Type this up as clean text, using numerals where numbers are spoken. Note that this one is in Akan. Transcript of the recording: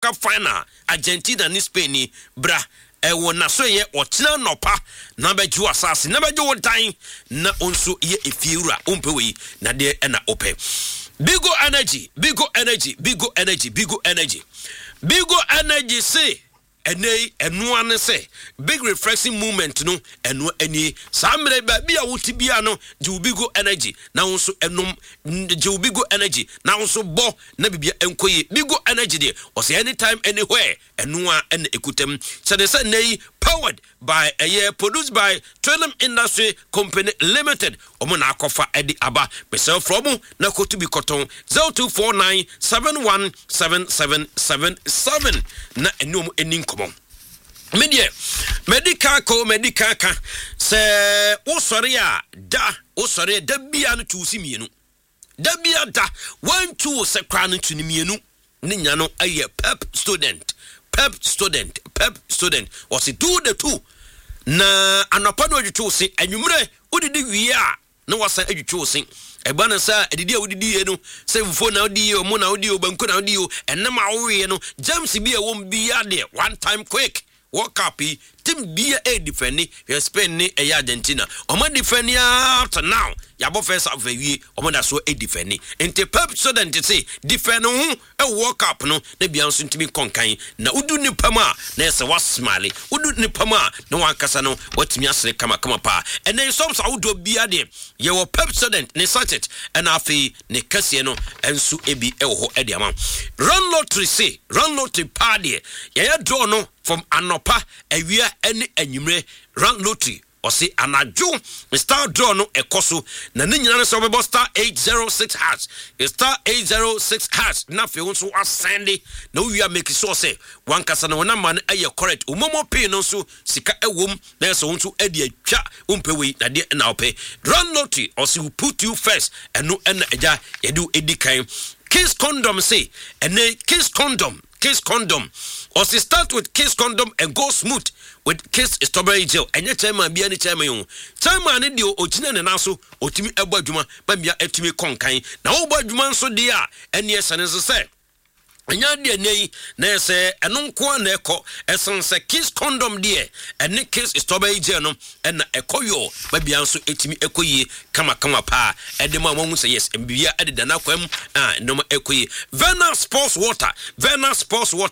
Cup final, Argentina ne Spain ni bra ɛwɔ naso yɛ ɔkyena nɔpa na bɛgye wo asase na bɛgye wo dan na wo nso yɛ efie wura. Wompɛ wei na deɛ ɛna wopɛ? Bigo Energy, Bigo Energy, Bigo Energy, Bigo Energy, Bigo Energy se ɛnɛ yi ɛnoa ne sɛ big refreshing moment no ɛno ani. Saa mmerɛ baabi a wote bia no, gye wo Bigo Energy na wo nso ɛnom, gye wo Bigo Energy na wo nso bɔ na bibia ɛnkɔ yie. Bigo Energy deɛ, ɔsɛ anytime, anywhere, ɛnoa ɛna ɛkutam sɛde sɛ nnɛ yi powered by ɛyɛ produced by Trillium Industry Company Limited. Ɔmo na akɔfa ɛde aba. Mesɛ frɛ mo na kɔtu bi kɔtɔn 0249 717777 na ɛne ɔmo ani nkɔmmɔ. Me deɛ, madi ka kɔ, madi ka ka sɛ wosɔre a da, wosɔre a da bia no, tu si mmienu da bia da. Wantu wo sɛ koraa no, tu ne mmienu ne nya no ɛyɛ Pepsodent, Pepsodent, Pepsodent. Wɔsi do the two na anɔpa no adwitwi wo se, anwummerɛ wodidi wie a na wasan adwitwi wo se. Ɛba no sɛ adidi a wodidi yie no, sɛ fufuo na wodi yie, ɔmo na wodi o, banku na wodi o, ɛnam a woweɛ no, germs bi a ɛwɔ mu biara deɛ, one time quick. World Cup yi, team bia ɛyɛ defend. Hwɛ Spain ne ɛyɛ Argentina, ɔmo defend up to now. Yɛabɔ first half awie, ɔmo da so defend. Nti Pepsodent se defend ho ɛwɔ World Cup no na bia nso ntumi nkɔ nkan na wodu nipa mu a na ɛsɛ wasmile, wodu nipa mu a na wankasa no watumi asere kamakama paa. Ɛnɛ sɔms ahodoɔ bia deɛ, yɛwɔ Pepsodent ne sachet ɛna afei ne kɛseɛ no nso ebi ɛwɔ hɔ ɛde ama. Run Lottery se run lottery paa deɛ, yɛyɛ draw no from anɔpa, awia ne anwummerɛ. Run Lottery ɔse anadwo star draw no ɛkɔ so na ne nyinaa no sɛ wobɛbɔ *806#, *806# na afei wo nso asɛnde na wowie a, make sure sɛ wankasa no wɔnama no ɛyɛ correct. Wo MoMo pin no nso sika ɛwom na ɛsɛ wo nso ɛde atwa. Wompɛ wei na deɛ na wopɛ? Run Lottery ɔse we put you first. Ɛno ɛna agya yɛde wo ɛdi kan. Kiss Condom se ɛnɛ Kiss Condom, Kiss Condom, ɔse start with Kiss Condom and go smooth with Kiss Strawberry Gel. Ɛnyɛ chairman bia ne chairman o. Chairman ne deɛ, ɔgyina ne nan so, ɔtumi ɛbɔ adwuma ma mmea ɛtumi kɔ nkan na wobɔ adwuma nso deɛ a, ɛneɛ hyɛ ne nso sɛ ɛnyɛ adeɛ nɛ yi na ɛsɛ ɛno nko a na ɛkɔ. Ɛsan sɛ Kiss Condom deɛ, ɛne Kiss Strawberry Gel no ɛna ɛkɔ yɔ babia nso ɛtumi ɛkɔ yie kamakama paa ɛde ma wɔn sɛ yes, mbibia ɛdeda n'akwan mu a nneɛma ɛkɔ yie. Verna Sports Water, Verna Sports Water.